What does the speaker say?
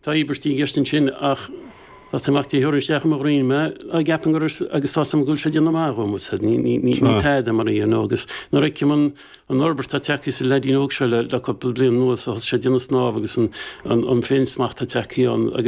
Tá íobairtí i gceist ansin ach tá 's agam ach Dé thiúrfaidh isteach i mo dhroim mé á gceapaim gur agus tá 's agam go bhfuil sé ag déanamh maith dhom is ní ní ní ní tada mar you know agus nuair a fheicim an an fhorbairt atá tagtha sa leaidín óg seo le le cúpla bliain anuas ó thosaigh sé ag déanamh snámh agus an an an féinsmacht atá tagtha ann agus.